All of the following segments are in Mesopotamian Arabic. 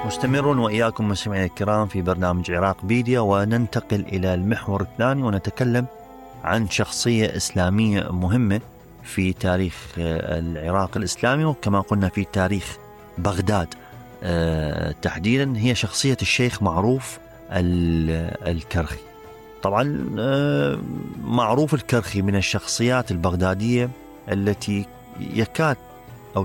مستمرون وإياكم مستمعينا الكرام في برنامج عراق بيديا، وننتقل إلى المحور الثاني ونتكلم عن شخصية إسلامية مهمة في تاريخ العراق الإسلامي، وكما قلنا في تاريخ بغداد تحديدا. هي شخصية الشيخ معروف الكرخي. طبعا معروف الكرخي من الشخصيات البغدادية التي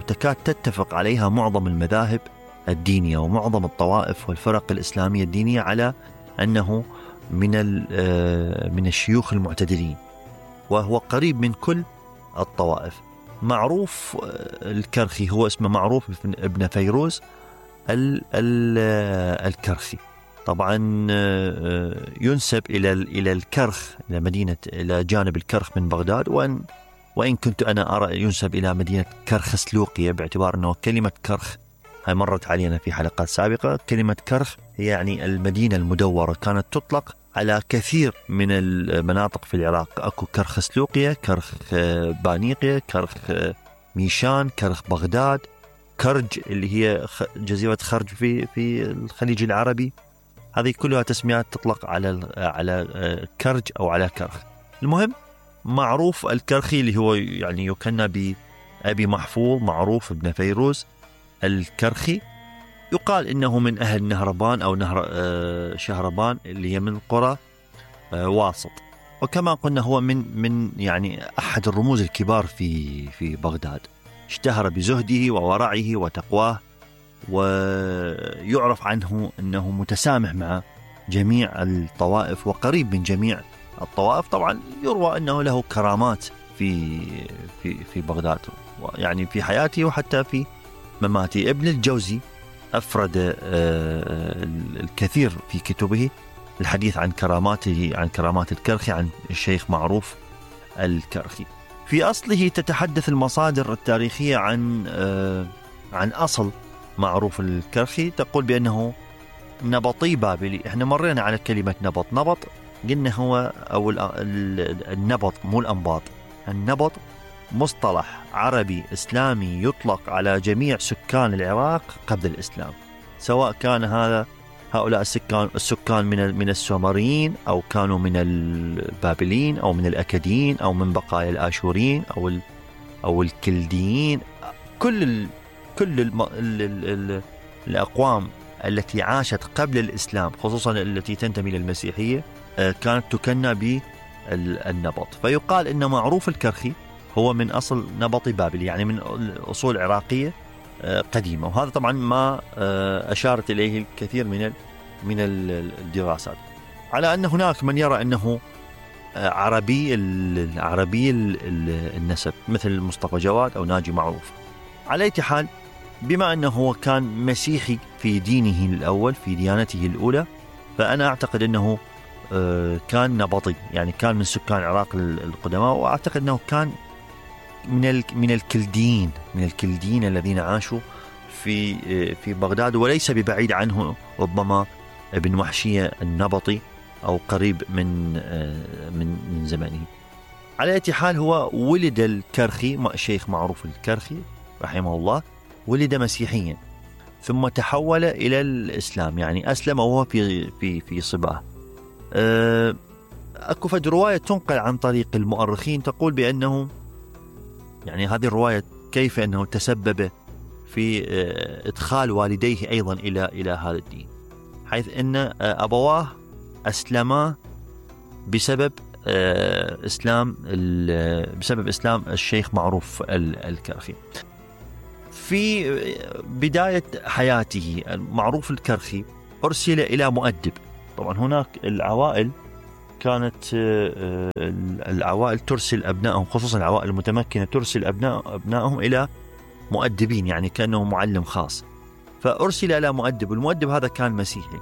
تكاد تتفق عليها معظم المذاهب الدينية ومعظم الطوائف والفرق الإسلامية الدينية على أنه من الشيوخ المعتدلين، وهو قريب من كل الطوائف. معروف الكرخي هو اسمه معروف ابن فيروز الكرخي. طبعا ينسب إلى الكرخ، إلى مدينة، إلى جانب الكرخ من بغداد، وإن كنت أنا أرى ينسب إلى مدينة كرخ سلوقية، باعتبار أنه كلمة كرخ هاي مرت علينا في حلقات سابقة. كلمة كرخ هي يعني المدينة المدورة، كانت تطلق على كثير من المناطق في العراق. أكو كرخ سلوقية، كرخ بانيقية، كرخ ميشان، كرخ بغداد، كرج اللي هي جزيرة خرج في الخليج العربي. هذه كلها تسميات تطلق على كرج أو على كرخ. المهم معروف الكرخي اللي هو يعني يكنى بأبي محفوظ معروف ابن فيروز الكرخي، يقال إنه من أهل نهربان أو نهر شهربان اللي هي من قرى واسط. وكما قلنا هو من يعني أحد الرموز الكبار في بغداد. اشتهر بزهده وورعه وتقواه، ويعرف عنه أنه متسامح مع جميع الطوائف وقريب من جميع الطوائف. طبعا يروى أنه له كرامات في بغداد، يعني في حياته وحتى في مماته. ابن الجوزي أفرد الكثير في كتبه الحديث عن كراماته، عن كرامات الكرخي، عن الشيخ معروف الكرخي. في أصله تتحدث المصادر التاريخية عن أصل معروف الكرخي، تقول بأنه نبطي بابلي. احنا مرينا على كلمة نبط قلنا هو أو النبط مو الأنباط. النبط مصطلح عربي إسلامي يطلق على جميع سكان العراق قبل الإسلام، سواء كان هؤلاء السكان من السومريين، أو كانوا من البابليين، أو من الأكديين، أو من بقايا الآشوريين، أو الكلديين. كل الأقوام التي عاشت قبل الإسلام، خصوصا التي تنتمي للمسيحية، كانت تكنى بالنبط. فيقال إن معروف الكرخي هو من أصل نبطي بابلي، يعني من أصول عراقية قديمة. وهذا طبعا ما أشارت إليه الكثير من الدراسات، على أن هناك من يرى أنه عربي النسب مثل مصطفى جواد أو ناجي معروف. على أي حال، بما أنه هو كان مسيحي في دينه الأول، في ديانته الأولى، فأنا أعتقد أنه كان نبطي، يعني كان من سكان العراق القدماء. وأعتقد أنه كان من الكلديين الذين عاشوا في بغداد، وليس ببعيد عنه ربما ابن وحشية النبطي أو قريب من زمانه. على أي حال، هو ولد الكرخي، الشيخ معروف الكرخي رحمه الله، ولد مسيحيا ثم تحول إلى الإسلام، يعني أسلم وهو في صباه. أكو فد رواية تنقل عن طريق المؤرخين تقول بأنه، يعني هذه الرواية كيف أنه تسبب في إدخال والديه أيضا إلى هذا الدين، حيث أن أبواه أسلما بسبب إسلام الشيخ معروف الكرخي. في بداية حياته معروف الكرخي أرسل إلى مؤدب. طبعا هناك العوائل كانت العوائل ترسل أبنائهم، خصوصا العوائل المتمكنة، ترسل أبنائهم إلى مؤدبين، يعني كأنه معلم خاص. فأرسل إلى مؤدب، والمؤدب هذا كان مسيحي،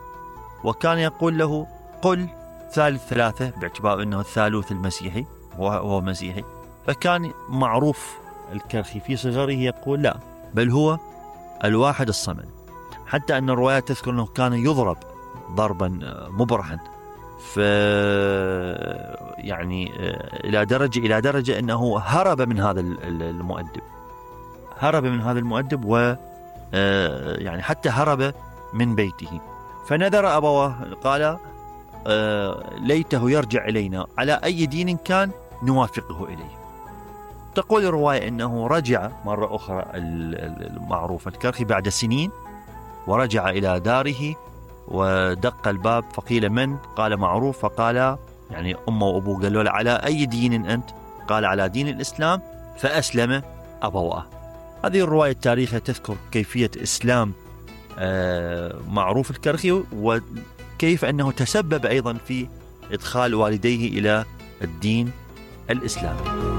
وكان يقول له قل ثالث ثلاثة، باعتبار أنه الثالوث المسيحي وهو مسيحي. فكان معروف الكرخي في صغره يقول لا، بل هو الواحد الصمد. حتى أن الروايات تذكر أنه كان يضرب ضربا مبرحا، يعني إلى درجة أنه هرب من هذا المؤدب، و يعني حتى هرب من بيته، فنذر أبواه، قال ليته يرجع إلينا على أي دين كان نوافقه إليه. تقول الرواية أنه رجع مرة أخرى المعروف الكرخي بعد سنين، ورجع إلى داره ودق الباب فقيل من؟ قال معروف، فقال يعني أمه وأبوه قالوا له على أي دين أنت؟ قال على دين الإسلام، فأسلم أبواه. هذه الرواية التاريخية تذكر كيفية إسلام معروف الكرخي، وكيف أنه تسبب أيضا في إدخال والديه إلى الدين الإسلامي.